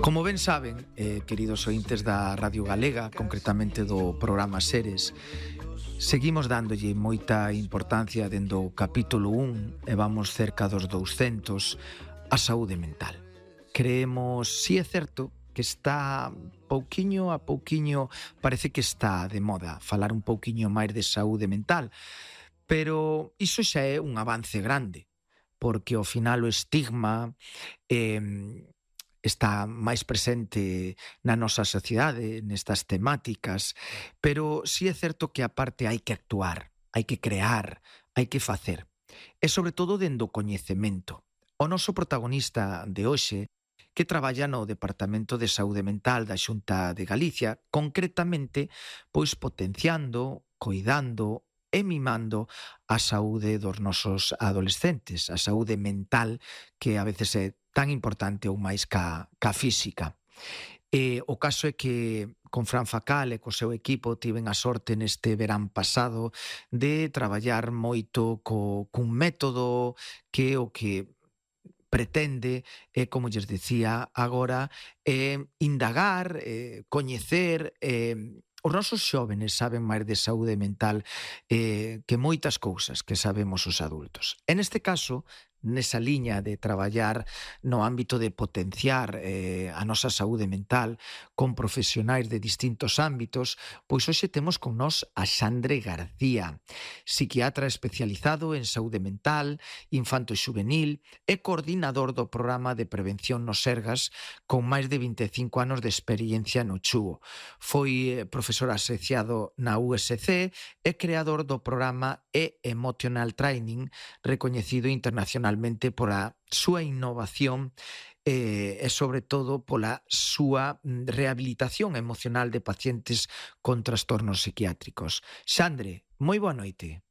Como ben saben, queridos ointes da Radio Galega, concretamente do programa Seres, seguimos dándolle moita importancia dende o capítulo 1 e vamos cerca dos 200 a saúde mental. Creemos, si é certo, que está pouquiño a pouquiño, parece que está de moda falar un pouquiño máis de saúde mental, pero iso xa é un avance grande, porque ao final o estigma está máis presente na nosa sociedade, nestas temáticas, pero si é certo que a parte hai que actuar, hai que crear, hai que facer. E sobre todo dende o coñecemento. O noso protagonista de hoxe, que traballa no Departamento de Saúde Mental da Xunta de Galicia, concretamente, pois potenciando, coidando e mimando a saúde dos nosos adolescentes, a saúde mental que a veces é tan importante ou máis ca física. O caso é que con Fran Facal e co seu equipo tiven a sorte neste verán pasado de traballar moito cun método que o que pretende, como lles dicía agora, indagar, coñecer, os nosos xóvenes saben máis de saúde mental que moitas cousas que sabemos os adultos. En este caso, nesa liña de traballar no ámbito de potenciar a nosa saúde mental con profesionais de distintos ámbitos, pois hoxe temos con nós a Xandre García, psiquiatra especializado en saúde mental, infanto e xuvenil e coordinador do programa de prevención no Sergas con máis de 25 anos de experiencia no Chúo. Foi profesor asociado na USC e creador do programa E-Emotional Training, recoñecido internacionalmente pola súa innovación e sobre todo pola súa rehabilitación emocional de pacientes con trastornos psiquiátricos. Xandre, moi boa noite.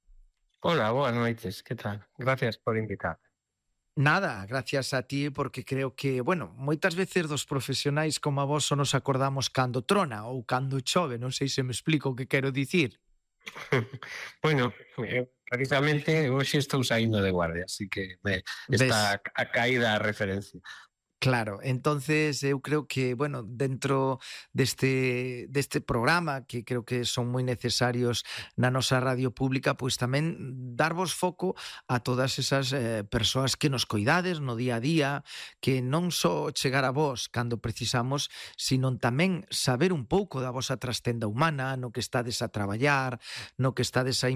Hola, boas noites, que tal? Gracias por invitar. Nada, gracias a ti, porque creo que, bueno, moitas veces dos profesionais como a vos só nos acordamos cando trona ou cando chove, non sei se me explico o que quero dicir. Bueno, precisamente hoxe estou saindo de guardia, así que está a caída a referencia. Claro, entonces eu creo que, bueno, dentro deste programa, que creo que son moi necesarios na nosa radio pública, pois tamén darvos foco a todas esas persoas que nos coidades no día a día, que non só chegar a vos cando precisamos, sino tamén saber un pouco da vosa trastenda humana, no que estades a traballar, no que estades a